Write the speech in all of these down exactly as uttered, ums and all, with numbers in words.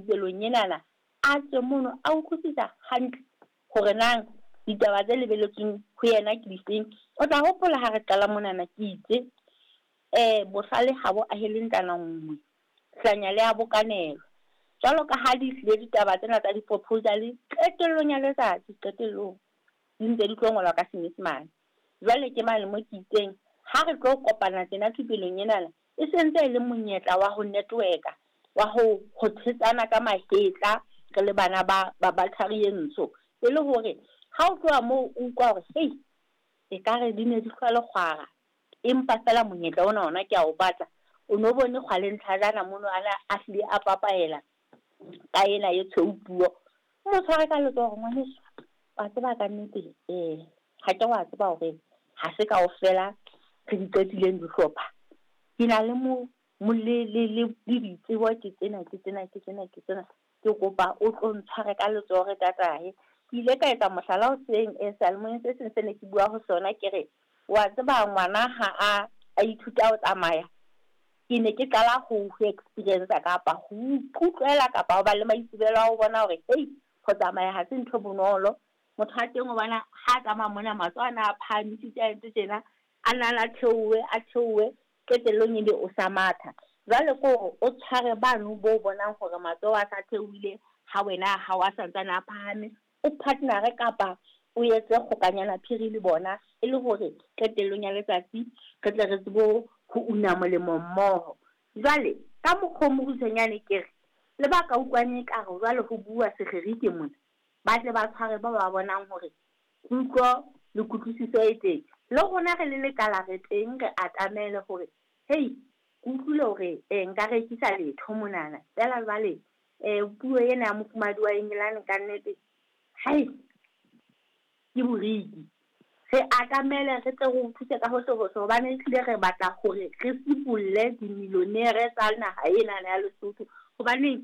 thupelong enana, a tswe mono a utlwisisa hantle hore nang ditaba tse lebelletsweng ho yena ke difeng. O tla hopola ha re qala monana ke itse eh bohlale ha bo ahele ntlwana nngwe, hlanya le a bokanelo. Jwalo ka ha di hlile ditaba tsena tsa di-proposal qetellong ya letsatsi, qetellong di ntse di tlo ngolwa ka Senyesemane. Jwale ke mane mo ke itseng ha re tlo kopana tjena thupelong enana, e sentse e le monyetla wa ho network-a, wa ho ho thetsana ka mahetla re le bana ba ba ba thari e ntsho. E le hore ha o tloha moo o utlwa hore hei ekare di ne di hlwa lekgwara, empa feela monyetla ona ona ke a o batla. O no bone kgwale ntlhajana mono ana a hlile a papaela ka ena e tshweu puo. O mo tshware ka letsoho ngwaneso, wa tseba ka nnete eh ha ke wa tseba hore ha se kaofela re di qetileng dihlopha. Ke na le mo mo le le le le ditsebo ke tsena ke tsena ke tsena ke tsena. Ke kopa o tlo ntshware ka letsoho re tatae. Ke ile ka etsa mohlala hoseng eh seyalemoyeng se seng se ne ke bua ho sona, ke re wa tseba ngwana ha a a ithuta ho tsamaya, ke ne ke qala ho ho experience kapa ho ikutlwela kapa ho ba le maitsebelo a ho bona hore hei ho tsamaya ha se ntho bonolo. Motho wa teng o bona ha tsamaya mona matsoho ana a phahamisitse a entse tjena, a nna a theohe a theohe, qetellong ebe o sa matha. Jwale ke hore o tshware bano bo bonang hore matsoho a sa theohile ha wena a hao a santsane a phahame, o partner-e kapa o etse kgokanyana phiri le bona, e le hore qetellong ya letsatsi re tle re tsebe ho una molemo mmoho. Jwale ka mokgwa o mokgutshwanyane ke re le ba ka utlwang ekare jwale ho bua Segerike mona, ba tle ba tshware ba ba bonang hore kutlo le kutlwisiso e teng. Le rona re le lekala re teng, re atamele hore hei ke utlwile hore eh nka rekisa letho monana feela jwale eh puo ena ya mofumahadi wa Engelane kannete hai ke boriki. Re atamele re tle re o thuse ka hohle hohle, hobane ehlile re batla hore re sibolle dimillionaire tsa naha enana ya Lesotho. Hobane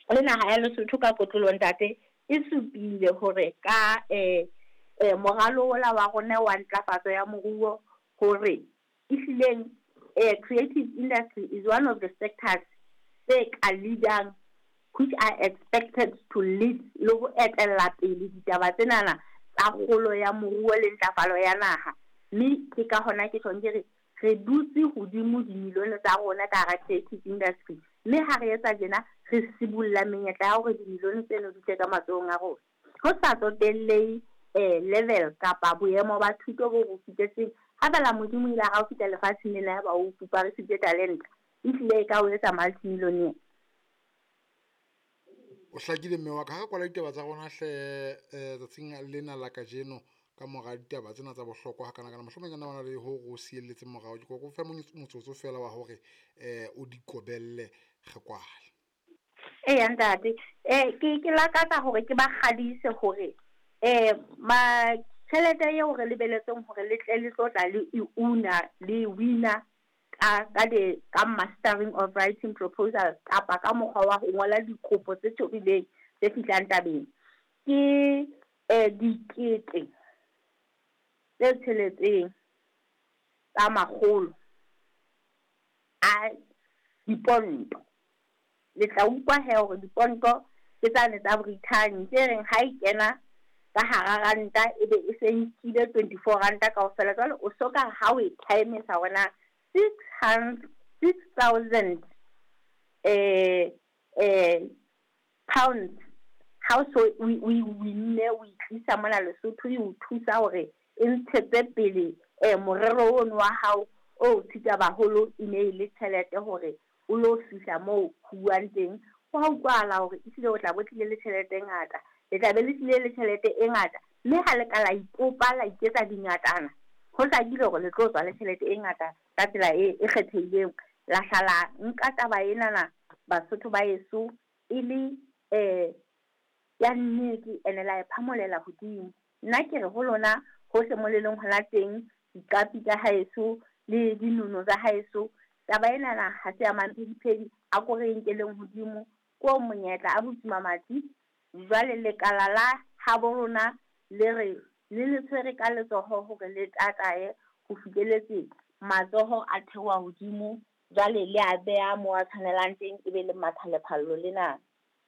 le naha ya Lesotho ka kotloloho ntate e supile hore ka eh eh moralo ola wa rona wa ntlafatso ya moruo hore ehlileng eh creative industry is one of the sectors tse ka leadang, which are expected to lead le ho etella pele ditaba tsenana tsa kgolo ya moruo le ntlafalo ya naha. Mme ke ka hona ke tjhong ke re re dutse hodimo dimilione tsa rona ka hara creative industry, mme ha re etsa tjena re sibolla menyetla ya hore dimilione tseno di tle ka matsohong a rona. Ho sa tsotellehe eh level kapa boemo ba thuto bo bo fihletseng, ha feela Modimo ile a ra o fihla lefatsheng lena ya ba o fuparisitse talenta, ehlile e ka o etsa multimillionaire. O hlakile mme wa ka. Ha re kwala ditaba tsa rona hle eh tsatsing lena la kajeno, ka mora ditaba tsena tsa bohlokwa hakana-kana, mohlomong e ka nna ba na le ho re o sielletseng morao. Ke kopa o fe motsotso feela wa hore eh o di kobelle re kwale. Eya ntate, eh ke ke lakatsa hore ke ba kgadise hore eh ma tjhelete eo re lebelletseng hore le tle le tlo tla le e una le wina ka ka de ka mastering of writing proposal kapa ka mokgwa wa ho ngola dikopo tse tobileng tse fihlang tabeng, ke eh dikete tse tsheletseng tsa makgolo a diponto. Le tla utlwa he hore diponto ke tsane tsa Britain tse reng ha e kena ka hara ranta ebe e se nkile twenty-four ranta kaofela. Jwale o soka ha o e times-a hore na six hundred, six thousand eh eh pounds ha o so o o e winne, o e tlisa mona Lesotho, e o thusa hore e ntshetse pele eh morero ono wa hao o tshita baholo, e ne e le tjhelete hore o lo fihla moo ho buang teng. Ho a utlwahala hore ehlile o tla bo tlile le tjhelete e ngata, le tla be le tlile le tjhelete e ngata, mme ha le ka la ipopa la iketsa dingatana, ho hlakile hore le tlo tswa le tjhelete e ngata ka tsela e e kgethehileng. La hla la nka taba enana Basotho ba heso e le eh ya nnete, ene la e phamolela hodimo. Nna ke re ho lona hohle mo le leng hona teng, diqapi tsa haeso le dinono tsa haeso, taba enana ha se ya mamphediphedi, a ko re nkeleng hodimo ko monyetla a butse mamati. Jwale lekala la habo rona le re le le tshwere ka letsoho hore le tatae ho fihleletse matsoho a theoha hodimo, jwale le a beha moo a tshwanelang teng, ebe le matha lephallo lena.